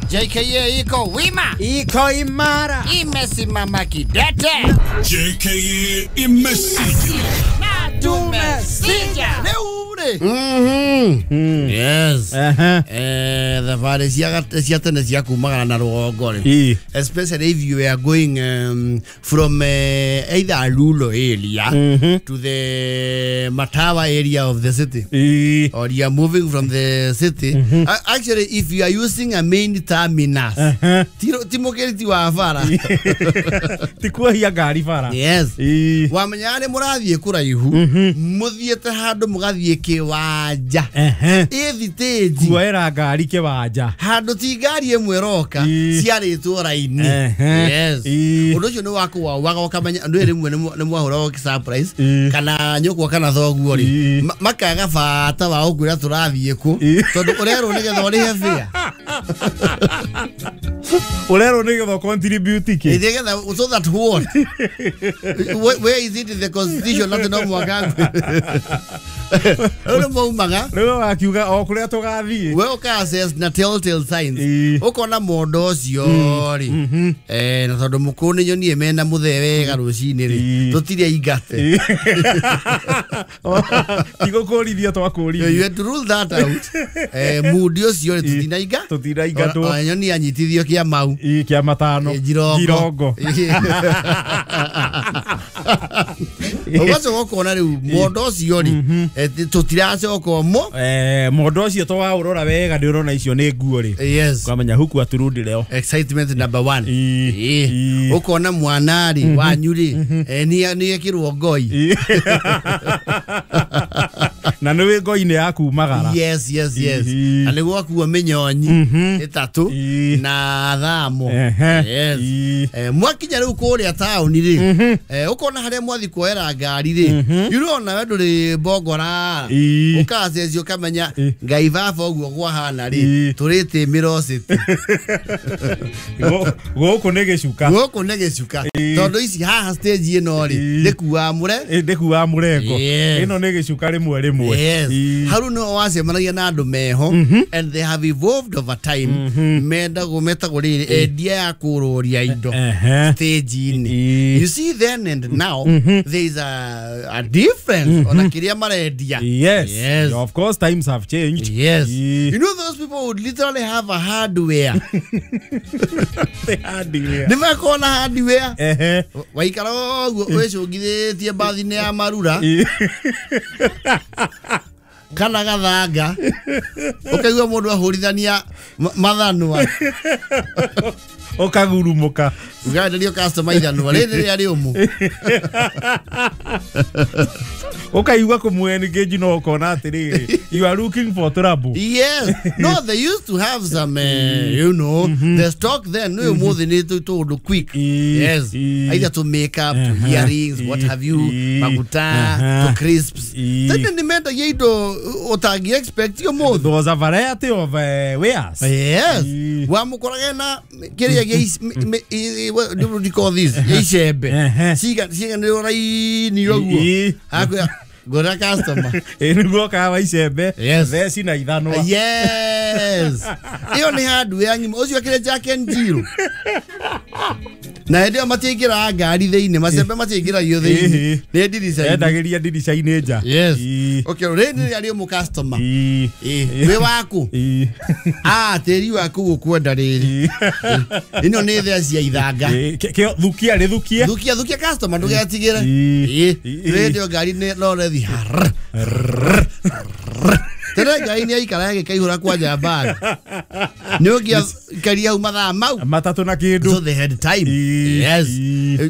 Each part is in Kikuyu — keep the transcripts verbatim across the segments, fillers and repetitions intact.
J K A iko wima, iko imara, imesimama kidete. J K A imesija na tumesija. Mhm. Mm. Yes. Uh-huh. Eh, thabarĩ cia cia tene cia kumagara na rũgongo rĩ. Especially if you are going um, from uh, either rural area mm-hmm. to the Matawa area of the city. E. Or you are moving from the city. Mm-hmm. Uh, actually, if you are using a main terminus, uh-huh. ti mũkĩriti wa bara. Ti kuohia ngari bara. Yes. E. Wamenya nĩ mũrathiĩ kũraihu, mũthiĩte handũ mũgathiĩ kĩwanja. Ĩthitĩnji. Kuoera ngari kĩwanja. Handũ ti ngari ĩmwe ĩroka ciarĩtwo raini. Yes. Ũndũ ũcio nĩ wakũwauaga ũkamenya andũ rĩmwe nĩ mwahũragwo surprise kana nyũkwa kana thoguo rĩ makaga bata wa gũkwĩra tũrathiĩ kũ tondũ ũrerwo nĩgetha ũrĩhe fare. Ũrerwo nĩgetha contribute kĩ? Nĩgetha so that what? Where is it in the constitution atĩ no mũhaka rĩu maumaga rĩu wakiuga o kũrĩa tũgathiĩ we ũka access na telltale signs ũkona mũndũ ũcio rĩ eh na tondũ mũkũrũ nĩ nyonie mena mũthee wega rũcinĩ rĩ tũtirĩ aingate tigũkũrithia twakũrithia. You had to rule that out. Eh mũndũ ũcio rĩ tũtinainga tũtinaingatwo nyonie anyitithio kĩa mau kĩa matano njirongo ũgacoka ũkona rĩu mũndũ ũcio rĩ tũtiracoka mo eh mũndũ ũcio to waũrora wega ndĩ ũrona icio nĩ nguo rĩ. Yes. Kwamenya huku aturudi leo excitement number one. Ũkona mwana rĩ wanyu rĩ nĩ nĩ ekĩrwo ngoi na nĩ wĩ ngoi-inĩ ya kumagara. Yes, yes, yes. Na nĩ gwakuo mĩnyonyi ĩtatũ na thamo. Yes. Mwakinya rĩu kũrĩa taũni rĩ ũkona harĩa mwathi kuoera ngari rĩ ũrona we ndũrĩ mbongora ũkacecio ũkamenya ngai baba ũguo kwahana rĩ tũrĩte Mĩro City. Gũkũ nĩ gĩcuka. Gũkũ nĩ gĩcuka tondũ ici haha stage ĩno rĩ ndĩkuaga mũre ndĩkuaga mũrengo ĩno nĩ gĩcuka rĩmwe rĩmwe. Yes. Haru no wacemanagia na andũ meho and they have evolved over time mendagwo metagwo rĩrĩ endia ya kũrũria indo stage-inĩ. You see then and now there is a, a difference ona kĩrĩa marendia. Yes. Yes. Of course times have changed. Yes. You know those people would literally have a hardware. The hardware. Nĩ makona hardware. Waikara ũguo wĩcũngithĩtie mbathi-inĩ ya marura kana gathanga ũkaigua mũndũ ahũrithania mathanwa ũkagurumũka ũgaenderio customer ithanwa rĩrĩ rĩrĩa rĩũmũ ũkaigua kũmũ-engage no ũkona atĩrĩrĩ you are looking for trouble. Yes. No, they used to have some uh, you know mm-hmm. the stock then no more than it to quick. Yes. Either to make up to earrings what have you maguta to crisps tene nĩ mendagia indo ũtangĩ expect you more. There was a variety of uh, wares. Yes. Wamũkoraga na kĩrĩa gĩa what do you call this icembe ciga ciganĩrwo raini ũguo akwĩra ngũra customer ĩ nĩguo kawa icembe theci na ithanwa. Yes. Ĩyo nĩ hardware ng'ima ũcio akĩrĩ Jack and Jill na hĩndĩ ĩyo matiaingĩraga ngari thĩinĩ macembe matiaingĩragio thĩinĩ nĩ ndirica-inĩ endagĩria ndirica-inĩ nja. Yes. Okay, rĩrĩ rĩrĩa rĩũmũ customer wĩ waku ah tĩri waku gũkwenda rĩrĩ ĩno nĩ theci ya ithanga thukia rĩthukie thukia thukia customer ndũgetigĩre hĩndĩ ĩyo ngari no rethi tene ngai nĩ aikara agĩkaihũra kwanja mbara nĩ ũngĩaikaria hau mathaa mau matatũ na kĩndũ. So they had time. Yes.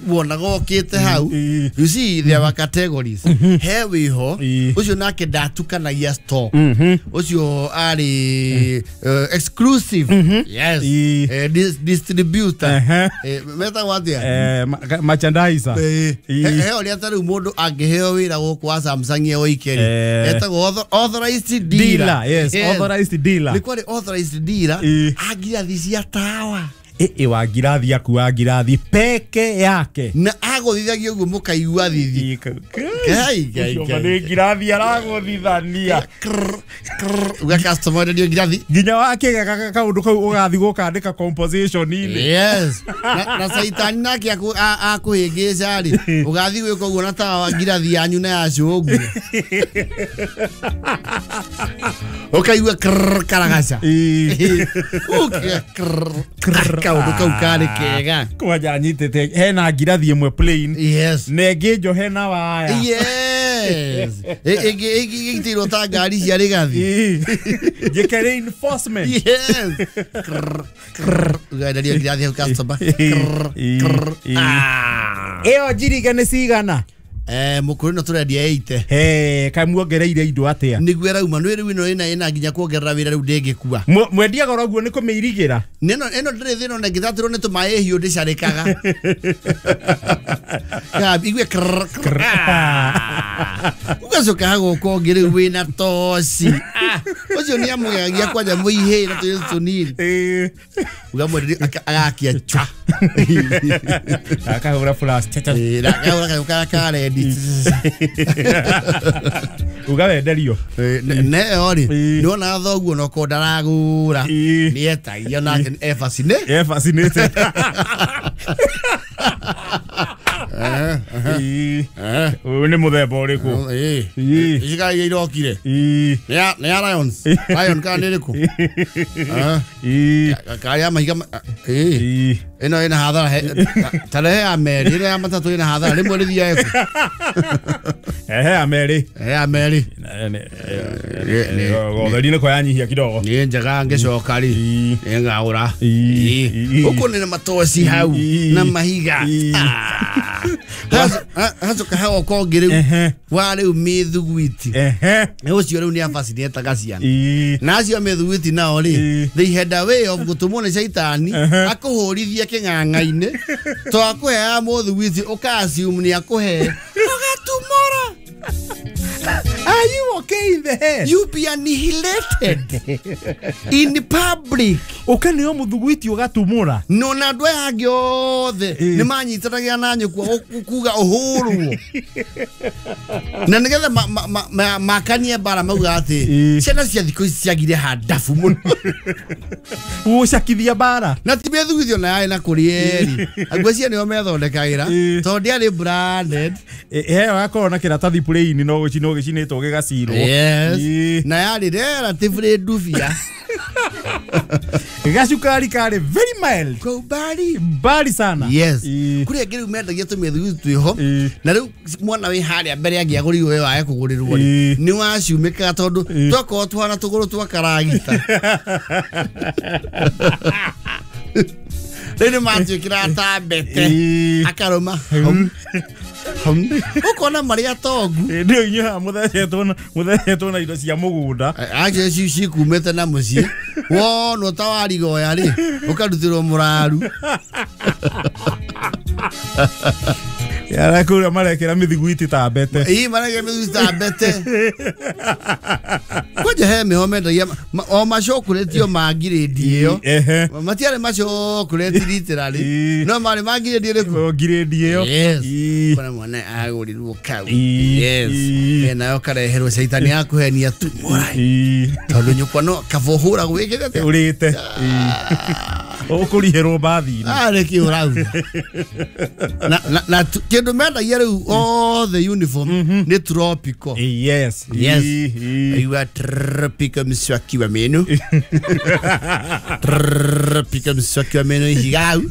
Wonaga ũkĩte hau you see there were categories he wĩho ũcio nake ndatukanagia stock ũcio arĩ exclusive. Yes. Distributor metagwo atĩa merchandiser he ũrĩa ta rĩu mũndũ angĩheo wĩra gũkũ wa Samsung oike rĩ etagwo authorized dealer. Yes, yes, authorized dealer. Nĩ kwarĩ authorized dealer angirathi cia tawa ĩ wa ngirathi akuwa ngirathi peke yake na Agũthithagia ũguo mũkaigua thithi. Ngai ngai ngai. Nĩ ngirathi aragũthithania. Uga customer ndio ngirathi. Nginya wakĩgega kaũndũ kau ũgathiĩ gũkandĩka composition-inĩ. Yes. Na na caitani nake akũhĩngĩca rĩ ũgathiĩ gwĩka ũguo na tawa ngirathi yanyu na ya cũngũ. Ũkaigua krrr karagaca. Ũkĩa krrr kaũndũ kau karĩ kega. Kwanja nyitĩte hena ngirathi ĩmwe plain. Yes. Na ĩngĩ njohe na waya. Yes. Ĩngĩ ĩngĩ ĩgitĩirwo ta ngari cia rĩgathi. Njĩke reinforcement. Yes. Krrr krrr ũgaenderia ngirathi hau customer. Krrr krrr. Ĩyo njiriga nĩ cigana? Eh mukuru no turendia eighty. He kai muongereire indo atia? Niguo erauma nĩ rĩu ĩno ĩna ĩna nginya kuongerera wĩra rĩu ndĩngĩkua. Mwendia goro guo nĩ kũmĩirigĩra. Nĩno ĩno ndĩrĩ thĩna ona ngĩthatĩrwo nĩ tũmaĩ hiũ ndĩcarĩkaga. Ka igue krrr krrr. Ugacoka hagoka ũngĩ rĩu wĩna toci. Ũcio nĩ amũgegagia kwanja mũihĩ na tũirĩtu tũnini. Ũgamwenderia agakia cha. Akahũra flash cha cha. Eh akahũra kayũ karĩa ka rendi. Ugawenderio. Neyo rĩ nĩwona thoguo na okorwo ndaragũra nĩetagia nake e fascinated. E fascinated. Ũyũ nĩ mũthemba ũrĩkũ? Ici kana iria irokire? Nĩ ya Lions? Lion kana nĩ ĩrĩkũ? Karĩa mahiga ĩno ĩna hathara ta rehe ya merĩ ĩno ya matatũ ĩna hathara rĩmwe rĩthiaga kũ? Ehe ya merĩ. Ehe ya merĩ. Gotheri nĩ kwanyihia kidogo. Nĩ njega ngĩcoka rĩ nĩngagũra. Ũkũ nĩ matoci hau na mahiga. Hacoka hagoka ũngĩ rĩu wa rĩu mĩthuguiti. Ũcio rĩu nĩ abacinietaga ciana. Na acio mĩthuguiti nao rĩ they had a way of gũtũmwo nĩ caitani akũhũrithie kĩng'ang'a-inĩ to akũheaga mũthuguiti ũka assume nĩ akũhe ũgatumũra. Are you okay in the head? You be annihilated in the public. Ũkeneo mũthuguiti ũgatumũra. No na andũ aya angĩ othe nĩ manyitanagia na nyũkwa kuga ũhũrwo. Na nĩgetha makanie mbara mauga atĩ ciana cia thikũ ici ciagire handabu mũno. Gũcakithia mbara. Na ti mĩthugithio na yarĩ na kũrĩ eri. Ngwĩciria nĩo methondekagĩra tondũ ndĩarĩ branded. Ĩyo gakorwo na kĩratathi plain no gũcinwo gĩcinĩtwo gĩgacirwo. Yes. Na yarĩ relatively ndubia. Gacukari karĩ very mild. Kwa umbali. Mbali sana. Yes. Kũrĩ angĩ rĩu mendagia tũmĩthuguiti twĩho na rĩu mwana wĩ harĩa mbere angĩagũrirwo we wage kũgũrĩrwo rĩ nĩ waciumĩkaga tondũ twakorwo tũhana tũgũrũ twa karagita. Rĩu nĩ matuĩkĩraga ta mbete akarũma ũkona marĩ atongu. Ndio inyuĩ haha mũthecetwo na mũthecetwo na indo cia mũgũnda. Acio ci cikumĩte na mũciĩ wonwo ta warigoya rĩ ũkarutĩrwo mũraru. Yara kũrĩa marekĩra mĩthiguiti ta mbete. Ĩĩ marekĩra mĩthiguiti ta mbete. Kwanja he mĩho mendagia o macokurĩtio ma ngirĩndi ĩyo. Matiarĩ macokurĩti literally no marĩ ma ngirĩndi ĩrĩkũ? Ngirĩndi ĩyo. Yes. Kuna mwana agũrirwo kau. Yes. Nayo kareherwo caitani akũhenia tumũra. Tondũ nyũkwa no kaba ũhũragwo wĩkĩte atĩa? Ũrĩte. Ũkũrihĩrwo mbathi-inĩ. Arĩ kĩ ũrauga. Na na kĩndũ mendagia rĩu othe uniform nĩ tropical. Yes. Yes. You are tropical mswaki wa meno. Tropical mswaki wa meno ihiga hau.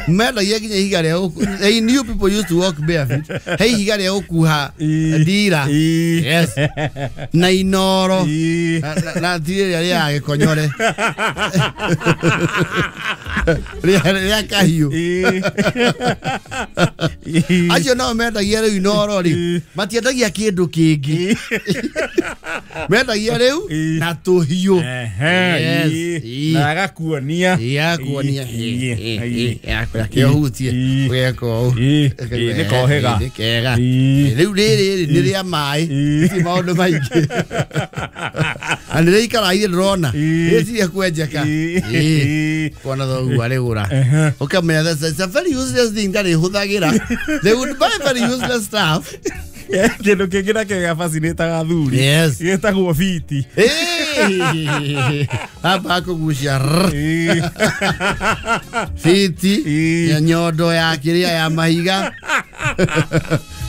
Mendagia nginya ihiga rĩa gũku. They knew people used to walk barefoot. He ihiga rĩa gũkuha ndira. Yes. Na inoro. Na ti rĩrĩa rĩa gĩkonyore. Rĩa kahiũ. Acio nao mendagia rĩu inoro rĩ matiendagia kĩndũ kĩngĩ. Mendagia rĩu na tũhiũ. Na agakuonia. Agakuonia. Kĩohutie ũgeka ũũ. Nĩ kohĩga. Nĩ kega. Rĩu rĩrĩ nĩ rĩa maĩ ti maũndũ maingĩ. Na nä ikara irä ndårona Ĩĩ. ä kwenjeka Ĩĩ. kona thoguo arä Ehe. Ukamenya that's it's a very useless thing ndarä hå thagä ra. They would buy very useless stuff. Kä ndå kä ngä nakĩo gĩabacinĩtaga athuri Yes. gĩtagwo biti. Ĩĩ. Hapa hakũgucia Ĩĩ. fiti Ĩĩ. ya nyondo ya kĩrĩa ya mahiga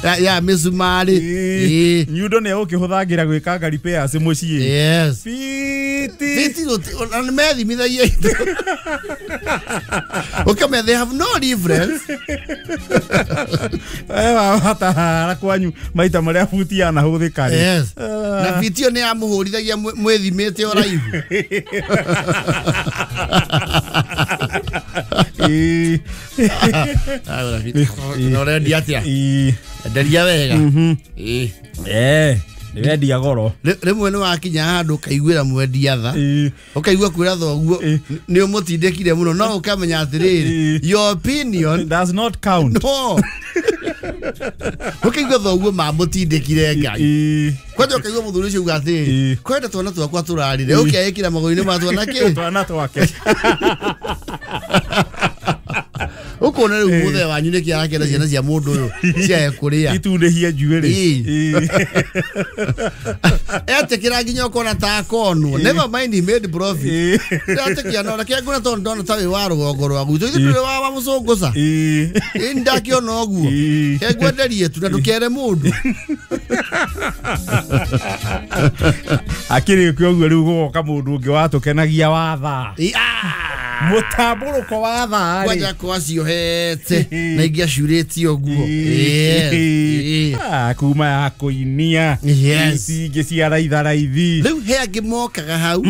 ya, ya mĩcumarĩ. Ĩĩ. Nyundo nĩ egũkĩhũthagĩra gwĩkanga repairs mũciĩ. Yes. Biti. Fiti gũti- ona nĩ methimithagia indo ũkamenya they have no difference. Watahara kwanyu maita marĩa buti yanahũthĩka rĩ. Yes. Na fiti ĩyo nĩ yamũhũrithagia mwĩ- mwĩthimĩte ũraihu. Ĩĩ. Agũra fiti. Na ũrendia atĩa? Ĩĩ. Enderia wega. Mhm. Ĩĩ. Eh, nĩ wendia goro. Rĩ- rĩmwe nĩ wakinya handũ ũkaiguĩra mwendia tha Ĩĩ. ũkaigua kwĩra thoguo Ĩĩ. nĩ ũmũtindĩkire mũno no ũkamenya atĩrĩrĩ Ĩĩ. your opinion Does not count. no ũkaigua thoguo mamũtindĩkire Ngai Ĩĩ. kwanja ũkaigua mũthuri ũcio uga atĩrĩrĩ Ĩĩ. kwenda twana twakwa tũrarire ũkeĩkĩra magũrũ-inĩ ma twana kĩ Twana twake. Ũkona rĩu mũthee wanyu nĩkĩ arakĩenda ciana cia mũndũ ũyũ ciae kũrĩa Itundĩhie njuĩrĩ. Ĩĩ. Ĩĩ. Etĩkĩra nginya ũkona ta akonwo, never mind he made profit. Ĩĩ. Ndĩratĩkia no reke ngũre tondũ ndona ta wĩ wa rũgongo rwa gwitũ ithuĩ ndũrĩ wa wa mũcũngũca. Ĩĩ. Ĩ ndakĩona ũguo Ĩĩ. ke ngwenderie tu na ndũkere mũndũ. Akĩrĩkia ũguo rĩu gũgoka mũndũ ũngĩ watũkenagia wa thaa. Ĩ, ah! Mũtambũrũko wa thaa rĩ. Kwanja kwaciohete na ingĩ acurĩtie ũguo. Yes. Ĩ. Ah, kuma ya kũinia. Yes. Ici ingĩ cia raitha raithi. Rĩu he angĩ mokaga hau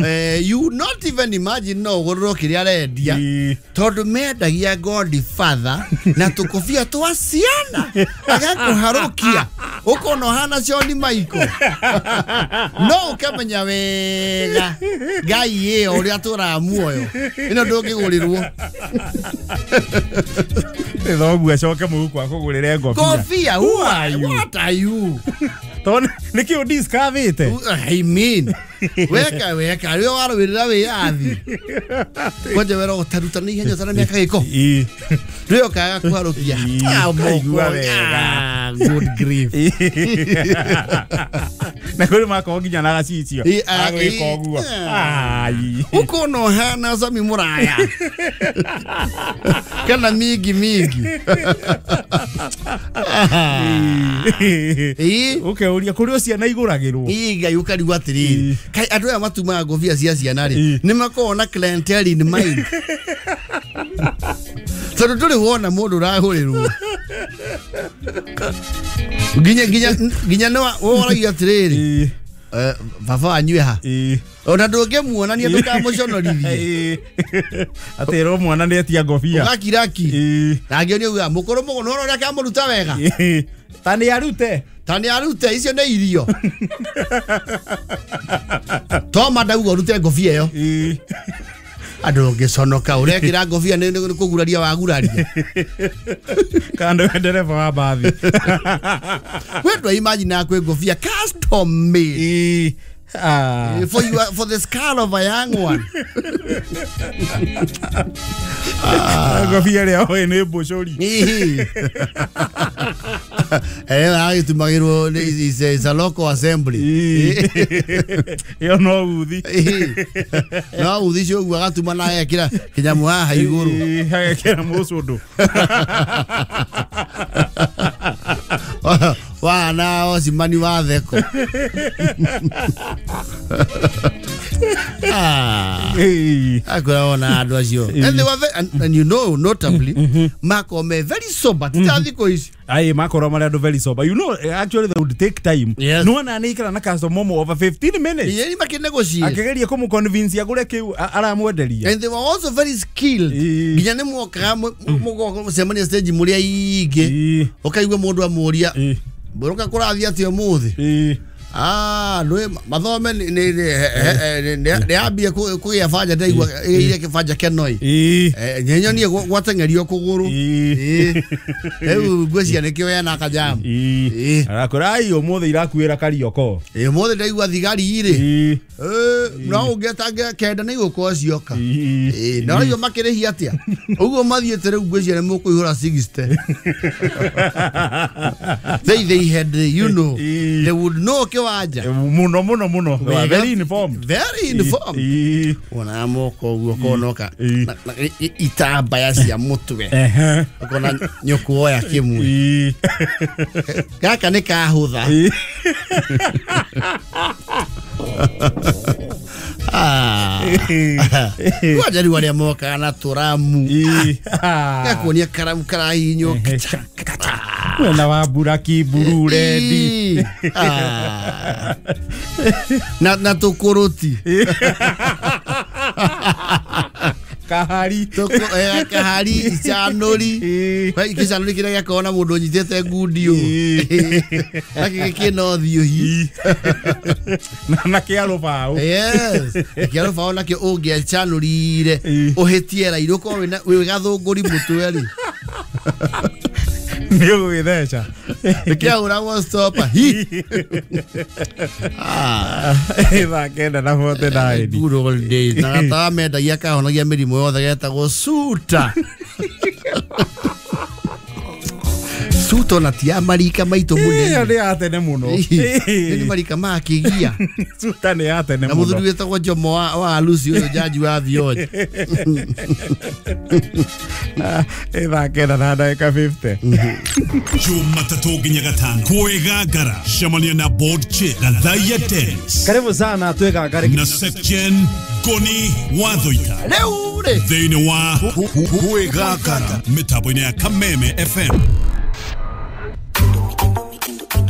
eh, you not even imagine no ũgũrĩrwo kĩrĩa arendia Ĩĩ. tondũ mendagia Godfather na tũkobia twa ciana agakũharũkia ũkona ũhana Shawn Michael no ũkamenya wega Ngai ĩyo ũrĩa tũraga muoyo ĩno ndũngĩgũrĩrwo. Nĩ thoguo acoke mũhuko akũgũrĩre ngobia. Kobia, Who are you? What are you? Tondũ nĩkĩ ũdiscoverĩte? I mean, weka weka rĩo warũĩrĩra wĩyathi kwanja wera ũtaruta na ihenya ũtana mĩaka gĩko Ĩĩ. rĩo kaga kũharũkia. Ĩĩ, Ah, ũkaigua moko. wega. Ah, good grief. Na kũrĩ makorwo nginya na gacicio Ĩĩ, ah, agwĩka ĩĩ. ũguo. Ah. Ai. Ũkona ũhana Sami mũraya kana mingi mingi. Ĩĩ. Ũkeuria kũrĩ o ciana igũragĩrwo. Ĩĩ Ngai ũkarigwo atĩrĩrĩ Ĩĩ. kaĩ andũ aya matumaga ngobia cia ciana rĩ Ĩĩ. nĩ makoragwo na clientele in mind tondũ ndũrĩ wona mũndũ ũragũrĩrwo nginya nginya nginya nĩ woragia atĩrĩrĩ Ĩĩ. eh, baba wanyu e ha Ĩĩ. ona ndũngĩmuonania ndũkamũconorithie. Ĩĩ. Atĩrwo mwana nĩ etia ngobia. Ũgakiraki Ĩĩ. na angĩ nĩ auga mũkũrũ mũgũ nĩ ũrĩa akamũruta wega. Ĩĩ. Ta nĩ arute. Ta nĩ arute icio nĩ irio toma ndauga ũrute ngobia ĩyo. Ĩĩ. Andũ ũngĩconoka ũrekĩra ngobia nĩ nĩ kũguraria waguraria. Kana nĩwe ndereba wa mbathi. We ndwa imagine kwĩ ngobia custom made. Ĩĩ. Ah. For you, for the skull of a young one. Ngobia ĩrĩa oĩ nĩ mbũcũri. Ĩĩ. Eh, agĩtumagĩrwo nĩ- is a- is a local assembly. Ĩĩ. Ĩyo no uthi. Ĩĩ. No uthi ũcio ũguo agatuma na agekĩra kĩnyamũ haha igũrũ. Ĩĩ, agekĩra mũcũndũ. Wana ocimani wa theko. Ah. Ĩĩ. Akoragwo na andũ acio and they were very, and, and you know notably makorwo me very sober ti ta thikũ ici. Aye, makorwo marĩ andũ very sober. You know, actually they would take time. Yes. Nĩwona nĩ ikara na customer ũmwe over fifteen minutes. Ĩĩ makĩnegotiate. Akĩgeria kũmũconvince agũre kĩu a- aramwenderia. And they were also very skilled. Ĩĩ. Nginya nĩ mwokaga mũgoka mũcemania stage mũrĩ aingĩ Ĩĩ. ũkaigua mũndũ amũria Ĩĩ. mbũrũka kũrathiĩ atĩa ũmũthĩ. Ĩĩ. Ah, nä mathome nä ambie kå gä a banja ndaigua ä kä banja kenoi nyenyonie gwateng'erio kå gå rå rä u ngwäcia nä kä o ena kajamu arakå ai å må thä irakuä ra karioko ä må thä ndaigua thigari rä no å ngä kenda nä igå korwo cioka no rä makä rä hia atä a å guo mathiä te rä u ngwäcia nä må kå ihå ra sixty. they they had you know they would know kiwanja muno muno muno very informed very informed ona moko guo konoka itambaya cia mutwe ukona nyukuoya kimwe gaka ni kahutha. Ah, kwanja riu aria mokaga na turamu gakuonia karamu karahinywo mwena wa buraki buru redi na na tukuruti kahari tuku eh kahari icanuri icanuri kiria giakorwo na mundu nyitite ngundio na giki no thiuhi na kia rubao. Yes, kia rubao nakio ungiacanurire uhitie rairo ko wina wi gathunguri mutwe ri ni ugwitheca kiahuragwo stopa hi. Ah, thaa kenda na forty nine good old days na gatawa mendagia kahonagia mĩrimũ yothe getagwo suta. Suta na ti ya marika maitũ mũnene ĩyo nĩ ya tene mũno nĩ marika ma kĩgia suta nĩ ya tene na mũno mũthuri wĩtagwo Jomo wa wa Lucy ũyũ jaji wa Thioja. Thaa kenda na ndagĩka fifty Jumatatu nginya gatano kwĩgangara cemania na board chair Gathaiya Dennis. Karibu sana twĩgangare na Sepjen Goni Wathoita rĩu rĩ thĩinĩ wa kwĩgangara mĩtambo-inĩ ya Kameme F M.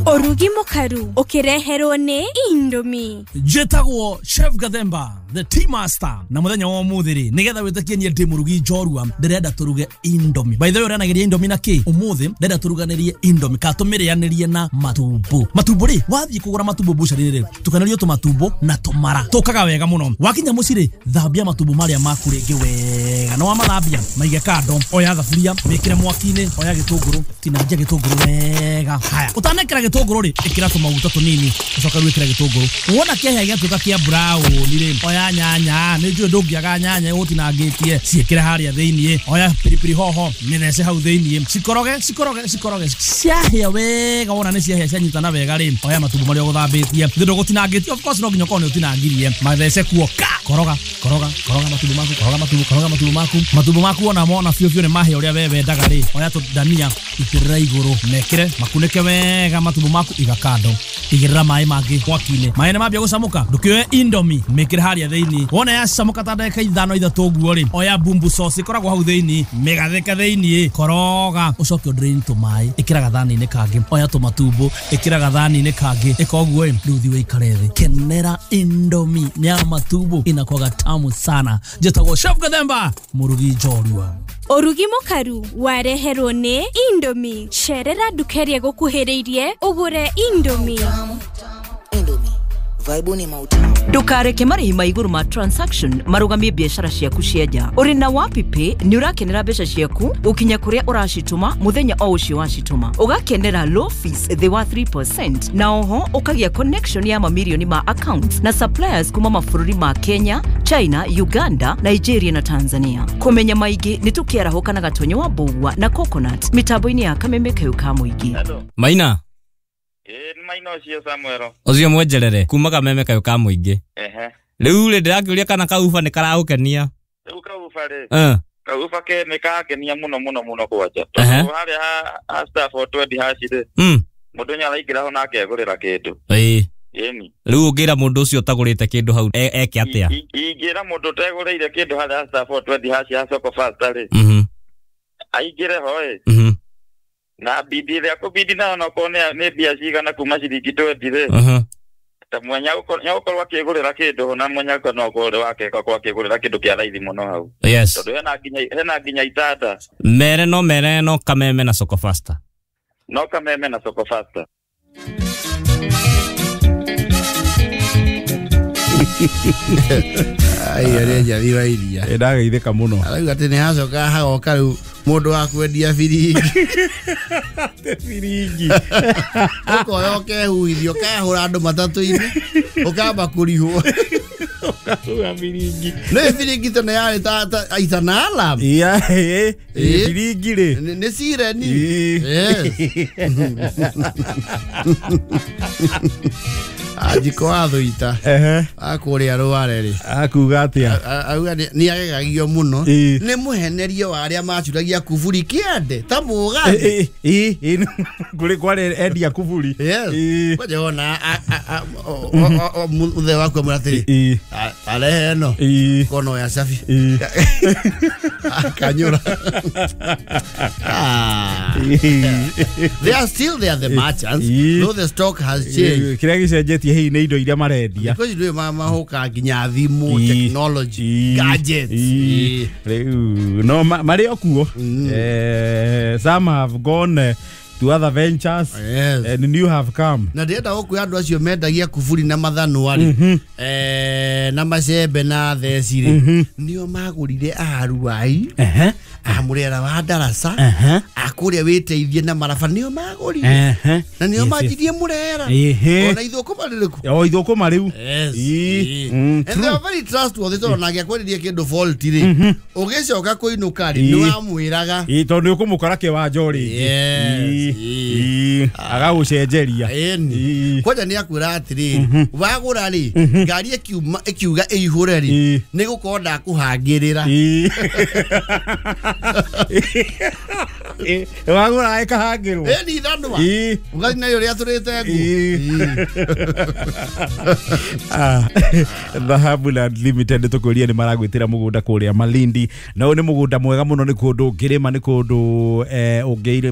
Orugi mukaru ukireherwo ni Indomie. Njĩtagwo Chef Gathemba the tea master na muthenya wa umuthi ri nigetha witikie nie ndi murugi njorua ndirenda turuge Indomie. By the way uranageria Indomie na ki umuthi ndirenda turuganirie Indomie ka tumirianirie na matumbo. Matumbo ri wathie kugura matumbo bucari ri tukanirio tumatumbo na tumara tukaga wega muno. Wakinya muci ri thambia matumbo maria maku ringi wega na wamathambia maige kando. Oya thaburia wikire mwaki-ini oya gitunguru tinangia gitunguru wega. Haya utanekera gitunguru ri ikira tumaguta tunini ucoka wikire gitunguru wona kihia giatuka kia brown ri oya nyanya nä njå ndångĩaga nyanya gũtinangĩtie ciĩkĩre harĩa thĩiniĩ oya piripiri hoho mĩthece hau thĩiniĩ cikoroge cikoroge cikoroge ciahĩa wega wona nĩ ciahĩa cianyitana wega rĩ oya matumbo marĩa ũgũthambĩtie thĩ ndũgũtinangĩtie of course no nginya ũkorwo nĩ ũtinangirie mathece kuo ka koroga koroga koroga matumbo maku koroga matumbo koroga matumbo maku matumbo maku wona mona biũ biũ nĩ mahĩa ũrĩa we wendaga rĩ oya tũndania itĩrĩra igũrũ mekĩre makunĩke wega matumbo maku iga kando igĩrĩra maĩ mangĩ mwaki-inĩ maĩ nĩ mambia gũcamũka ndũkĩoe Indomie mĩkĩre harĩa thĩiniĩ wona yacamuka ta ndagĩka ithano ithatũ ũguo rĩ oya bumbu sauce ĩkoragwo hau thĩiniĩ mĩgathĩke thĩiniĩ koroga ũcoke ũdrain tũmaĩ ĩkĩra gathani-inĩ kangĩ oya tũmatumbo ĩkĩra gathani-inĩ kangĩ ĩka ũguo ĩ rĩu thiĩ ũikare thĩ kenera Indomie ya matumbo inakwaga tamu sana. Njĩtagwo Chef Gathemba mũrugi njorua. Orugi mukaru wareherwo ni Indomie. Cerera nduka ĩrĩa ĩgũkuhĩrĩirie ũgũre Indomie. Indomie vibe ni mautamu. Ndukareke marĩhi ma igũrũ ma transaction marugamie biacara ciaku cia nja. Ũrĩ na WapiPay nĩ ũrakenera mbeca ciaku ũkinya kũrĩa ũracitũma mũthenya o ũcio wacitũma. Ũgakenera low fees thĩ wa three percent na oho ũkagĩa connection ya mamirioni ma accounts na suppliers kuma mabũrũri ma Kenya, China, Uganda, Nigeria na Tanzania. Kũmenya maingĩ nĩ tũkĩarahũka na Gatonyo wa Mbũgua na Coconut mĩtambo-inĩ ya Kameme kayũ ka mũingĩ. Maina Ĩĩ maina ũcio Samuel. Ũcio mwenjerere kuma Kameme kayũ ka mũingĩ. Ehe. Rĩu rĩ ndĩrakĩũria kana kauba nĩ karagũkenia. Rĩu kauba rĩ. Eh. Kauba ke nĩ kangenia mũno mũno mũno kwanja. Tondũ harĩa ha star four twenty hash rĩ. Mm. Mũndũ nĩ araingĩra ho na akegũrĩra kĩndũ. Ĩĩ. Ĩni. Rĩu ũngĩra mũndũ ũcio ũtagũrĩte kĩndũ hau eke atĩa? Ingĩra mũndũ ũtegũrĩire kĩndũ harĩa star four twenty hash ya Soko Fasta rĩ. Mhm. Aingĩre ho ĩ. Mhm. Na bidi rĩa kũbidi nayo no korwo nĩ mbia cigana kuma ciringi twenty rĩ. Mhm. Ta mwenya gũkorwo akĩgũrĩra kĩndũ na mwenya no akorwo wake akorwo akĩgũrĩra kĩndũ kĩa raithi mũno hau. Yes. Tondũ hena nginya hena nginya itanda. Mere no mere no Kameme na Soko Fasta. No Kameme na Soko Fasta. Ai arĩa njathi wa iria. Ndageithĩka mũno. Arauga atĩ nĩ hacoka hagoka rĩu mũndũ wa kwendia biringi. Biringi. Ũkoya ũkehuithia ũkahũra andũ matatũ-inĩ ũkamba kũrihwo. Ũkahũra biringi. Nĩ biringi tene yarĩ ta ta itana alarm. Yeah, eh, biringi rĩ. Nĩ sireni. Yes. Ajiko wa thuita akũrĩa rware rĩ akuga atĩa auga nĩ agegagio mũno nĩ mũhenerio wa arĩa macuragia kuburi kĩande ta mũgathĩ ĩ kũrĩ kwarĩ endia kuburi. Yes. Kwanja wona mũthee waku amwĩra atĩrĩ arehe ĩno kono ya cabi akanyũra. They are still there, the merchants, though the stock has changed. Kĩrĩa gĩcenjetie hihi nĩ indo iria marendia. Because ndũĩ mahoka nginya thimũ, technology, gadgets. Rĩu no marĩ o kuo. Some have gone to other ventures. Yes. And new have come. Na ndĩrenda gũkwĩra andũ acio mendagia kuburi na mathanwa rĩ eh na macembe na theci rĩ nĩo magũrire aruai a mũrera wa darasa a kũrĩa wĩteithie na maraba nĩo magũrire na nĩo manjirie mũrera ona ithũkũma rĩrĩkũ o ithũkũma rĩu. Yes. And they are very trustworthy tondũ nake akwenderia kĩndũ fault rĩ ũgĩcoka kũinũka rĩ nĩ wamwĩraga ĩ tondũ nĩ ũkũmũkora kĩwanja o rĩngĩ agagũcenjeria. Ĩni kwanja nĩ akwĩra atĩrĩrĩ wagũra rĩ ngari ĩkiuma ĩkiuga ĩihũre rĩ nĩ gũkorwo ndakũhangĩrĩra wagũra ĩkahangĩrwo ĩni ithanwa ũgathiĩ nayo rĩatũrĩte nguo. Dhahabu Land Limited tũkũria nĩ maragwĩtĩra mũgũnda kũrĩa Malindi na ũyũ nĩ mũgũnda mwega mũno nĩ kũndũ ũngĩrĩma nĩ kũndũ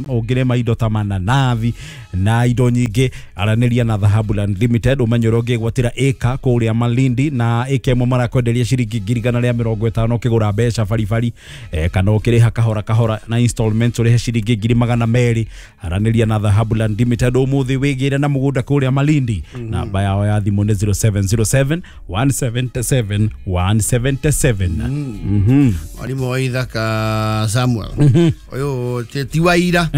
ũngĩrĩma indo ta mananathi na indo nyingĩ. Aranĩria na Dhahabu Land Limited ũmenye ũrĩa ũngĩgwatĩra ĩka kũrĩa Malindi na ĩka ĩmwe marakwenderia ciringi ngiri igana rĩa mĩrongo ĩtano ũkĩgũra mbeca baribari kana ũkĩrĩha kahora kahora na installments ũrĩhe ciringi ngiri magana merĩ. Aranĩria na Dhahabu Land Limited ũmũthĩ wĩgĩre na mũgũnda kũrĩa Malindi. Namba yao ya thimũ nĩ zero seven zero seven one seven seven one seven seven. Mwarimũ wa ithaka Samuel ũyũ ti wa ira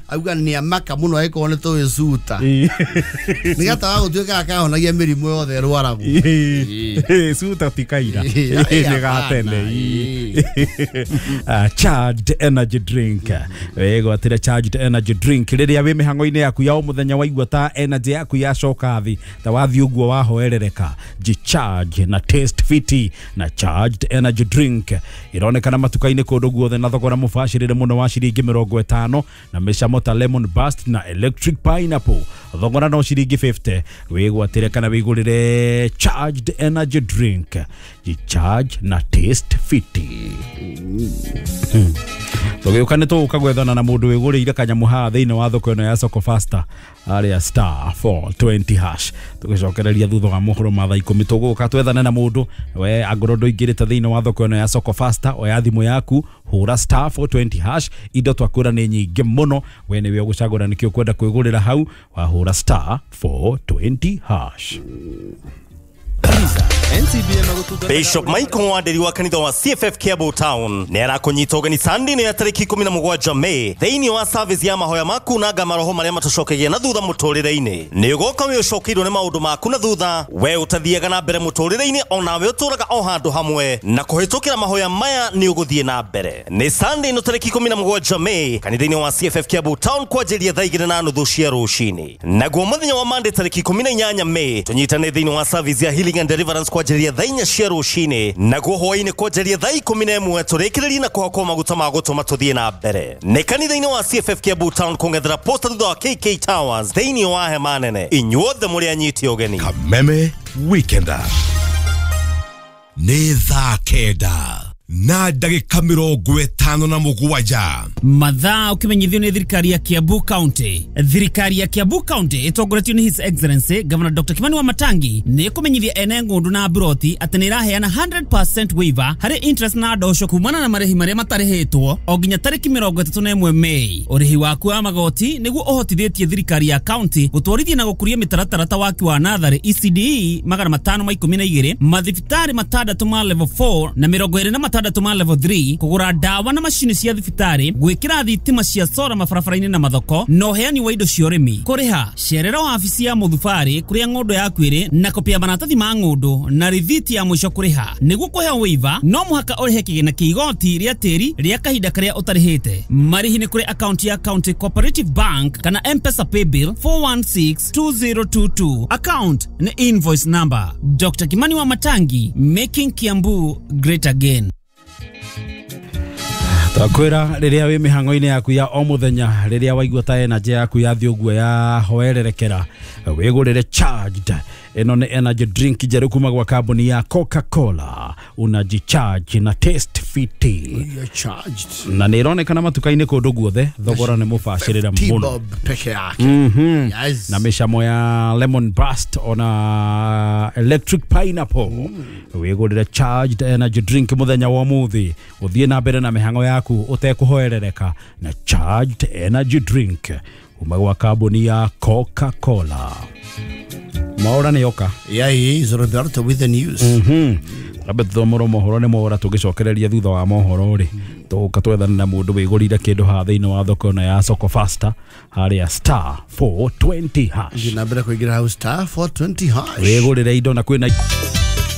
auga nĩ amaka mũno angĩkorwo nĩ tũĩ cuta nĩ gata wa gũtuĩka akahonagia mĩrimũ yothe ĩrwaragwo. Cuta ti kaira nĩ gatene. Charged energy drink wĩgwatĩre charged energy drink rĩrĩa wĩ mĩhang'o-inĩ yaku ya o mũthenya waigua ta energy yaku yacoka thĩ ta wathiĩ ũguo wahoerereka jicharge na taste fiti na charged energy drink ironekana matuka-inĩ kũndũ guothe na thogora mũbacĩrĩre mũno wa ciringi mĩrongo ĩtano na mĩcamo ta lemon burst na electric pineapple thogora no ciringi fifty. Wĩgwatĩre kana wĩgũrĩre charged energy drink jicharge na taste fiti. Tũgĩũka nĩ tũgũka gwethana na mũndũ wĩgũrĩire kanyamũ haha thĩinĩ wa thoko ĩno ya Soko Faster arĩa star four twenty hash tũgĩcokereria thutha wa mohoro ma thaa ikũmi tũgũka twethane na mũndũ we angorwo ndũingĩrĩte thĩinĩ wa thoko ĩno ya Soko Faster oya thimũ yaku hũra star four twenty hash indo twakwĩra nĩ nyingĩ mũno we nĩwe ũgũcagũra nĩkĩ ũkwenda kwĩgũrĩra hau wahũra star four twenty hash. Bishop Michael Wanderi wa kanitha wa C F F Kiambu Town nĩ arakũnyita ũgeni Sunday ya tarĩki ikũmi na mũgwanja May thĩinĩ wa service ya mahoya maku na nga maroho marĩa matũcokagia na thutha mũtũrĩre-inĩ. Nĩ ũgoka wĩ ũcokeirwo nĩ maũndũ maku na thutha we ũtathiaga na mbere mũtũrĩre-inĩ onawe ũtũraga o handũ hamwe na kũhĩtũkĩra mahoya maya nĩ ũgũthiĩ na mbere. Nĩ Sunday ĩno tarĩki ikũmi na mũgwanja May kanitha-inĩ wa C F F Kiambu Town kwanjĩrĩria thaa igĩrĩ na nuthu cia rũcinĩ. Naguo mũthenya wa Monday tarĩki ikũmi na inyanya May tũnyitane thĩinĩ wa service ya healing and deliverance kwanjĩrĩria thaa inya cia rũcinĩ naguo hwaĩ-inĩ kwanjĩrĩria thaa ikũmi na ĩmwe tũrĩkĩrĩrie na kũhakwo maguta ma gũtũma tũthiĩ na mbere. Nĩ kanitha-inĩ wa C F F Kiambu Town kũng'ethera posta thutha wa K K Towers thĩinĩ wa hema nene. Inyuothe mũrĩ anyiti ũgeni. Kameme Weekender nĩ thaa kenda. Na ndagĩka mĩrongo ĩtano na mũgwanja. Mathaa ũkĩmenyithio nĩ thirikari ya Kiambu County. Thirikari ya Kiambu County ĩtongoretio nĩ His Excellency Governor Doctor Kimani Wamatangi nĩ ĩkũmenyithia ene ng'ũndũ na mburoti atĩ nĩ ĩraheana one hundred percent waiver harĩ interest na ndosho kumana na marĩhi marĩa matarĩhĩtwo o nginya tarĩki mĩrongo ĩtatũ na ĩmwe Mei. Ũrĩhi waku wa magoti nĩguo ũhotithĩtie thirikari ya county gũtwarithia na gũkũria mĩtaratara ta waki wa natharĩ E C D E magana matano ma ikũmi na igĩrĩ, mathibitarĩ matandatũ ma level four na mĩrongo ĩrĩ na matandatũ ma level three, kũgũra ndawa na macini cia thibitarĩ, gwĩkĩra thitima cia sora mabarabara-inĩ na mathoko, na ũheani wa indo cia ũrĩmi. Kũrĩha, cerera wabici ya mũthubarĩ kũrĩa ng'ũndũ yaku ĩrĩ na kopi ya maratathi ma ng'ũndũ na rithiti ya mũico kũrĩha. Nĩguo kũheo waiver, no mũhaka ũrĩhe kĩgĩna kĩa igoti rĩa tĩri rĩa kahinda karĩa ũtarĩhĩte. Marĩhi nĩ kũrĩ akaunti ya County Cooperative Bank kana M-Pesa Paybill four one six two zero two two, account nĩ invoice number. Doctor Kimani Wamatangi, making Kiambu great again. Twakwĩra rĩrĩa wĩ mĩhang'o-inĩ yaku ya o mũthenya, rĩrĩa waigua ta energy yaku yathiĩ ũguo ya hoererekera, wĩgũrĩre Charged. Ĩno nĩ energy drink njerũ kuma gwa kambuni ya Coca-Cola. Unajicharge na taste fiti. Na nĩ ĩronekana matuka-inĩ kũndũ guothe, thogora nĩ mũbacĩrĩre mũno. Bob peke yake. Mhm. Yes. Na mĩcamo ya lemon burst ona electric pineapple. Wĩgũrĩre Charged energy drink mũthenya wa ũmũthĩ, ũthiĩ na mbere na mĩhang'o yaku ũtekũhoerereka na Charged energy drink kuma gwa kambuni ya Coca-Cola. Mwaura nĩ oka. Yeah, he is Roberto with the news. Mhm. Rambe tuthomorwo mohoro nĩ Mwaura, tũgĩcokereria thutha wa mohoro rĩ, tũgũka twethane na mũndũ wĩgũrire kĩndũ haha thĩinĩ wa thoko ĩno ya Soko Fasta harĩa star four twenty hash. Thiĩ na mbere kũingĩra hau star four twenty hash. Wĩgũrĩre indo na kwĩna